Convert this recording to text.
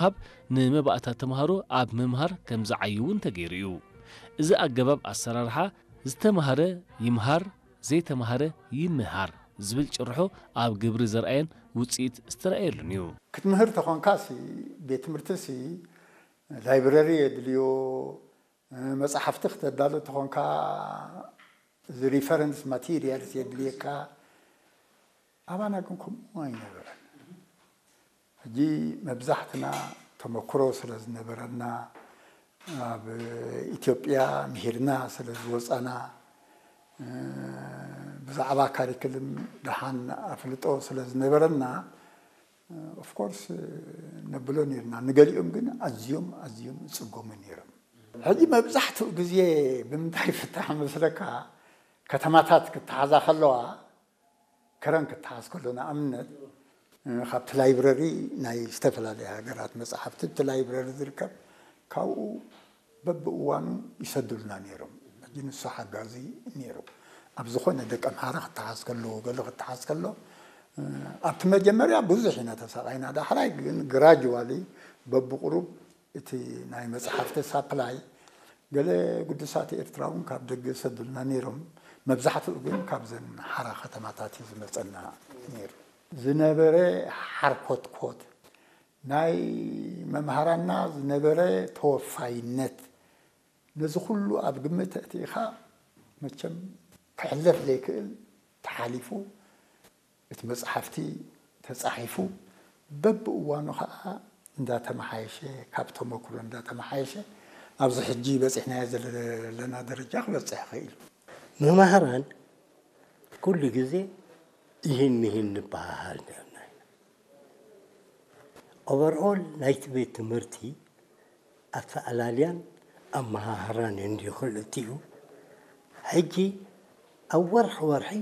ብምሃብ፣ ንመባእታ ተምሃሮ ኣብ ምምሃር ከም ዝዓዩ እውን ተገይሩ እዩ። እዚ ኣገባብ ኣሰራርሓ፣ ዝተምሃረ ይምሃር፣ ዘይተምሃረ ይምሃር ዝብል ጭርሖ ኣብ ግብሪ ዘርኣየን ውፅኢት ዝተረኣየሉን እዩ። ክትምህር ተኾንካ ሲ፣ ቤት ትምህርቲ ሲ፣ ላይብረሪ የድልዮ፣ መጻሕፍቲ ክተዳሉ ተኾንካ፣ እዚ ሪፈረንስ ማቴሪያልስ የድልየካ። ኣባና ግን ከምኡ ኣይነበረን። ሕጂ መብዛሕትና ተመክሮ ስለ ዝነበረና፣ ኣብ ኢትዮጵያ ምሂርና ስለ ዝወጻና፣ ብዛዕባ ካሪክልም ደሓን ኣፍልጦ ስለ ዝነበረና፣ ኦፍኮርስ ነብሎ ነርና። ንገሊኦም ግን ኣዝዮም ኣዝዮም ይጽገሙ ነይሮም። ሕጂ መብዛሕትኡ ግዜ ብምንታይ ይፍታሕ መስለካ? ከተማታት ክተሓዛ ከለዋ፣ ከረን ክተሓዝ ከሎ፣ ንኣብነት ካብቲ ላይብረሪ ናይ ዝተፈላለየ ሃገራት መጽሓፍቲ፣ እቲ ላይብረሪ ዝርከብ፣ ካብኡ በብእዋኑ ይሰዱልና ነይሮም። ሕጂ ንሱ ሓጋዚ ነይሩ። ኣብ ዝኾነ ደቀ ምሓረ ክተሓዝ ከሎ፣ ገለ ክተሓዝ ከሎ፣ ኣብቲ መጀመርያ ብዙሕ ኢና ተሳቓይና። ዳሕራይ ግን ግራጅዋሊ፣ በብቁሩብ፣ እቲ ናይ መጽሓፍቲ ሳፕላይ፣ ገለ ግዱሳት ኤርትራ እውን ካብ ደገ ይሰዱልና ነይሮም። መብዛሕትኡ ግን ካብዘን ሓራ ከተማታት እዩ ዝመጸና ነይሩ። ዝነበረ ሓርኮትኮት፣ ናይ መምሃራንና ዝነበረ ተወፋይነት፣ ነዚ ኩሉ ኣብ ግምት ኣእቲኻ፣ መቸም ክሕለፍ ዘይክእል ተሓሊፉ፣ እቲ መጽሓፍቲ ተጻሒፉ፣ በብእዋኑ ኸኣ እንዳተመሓየሸ፣ ካብ ተመክሮ እንዳተመሓየሸ፣ ኣብዚ ሕጂ በጺሕናዮ ዘለና ደረጃ ክበጽሕ ይኽእል። መማህራን ኩሉ ግዜ ይህን ምሂን ንበሃሃል ነርና ኢና። ኦቨርኦል ናይቲ ቤት ትምህርቲ ኣተኣላልያን ኣመሃህራን እንድዩ ክልቲኡ። ሕጂ ኣብ ወርሒ ወርሒ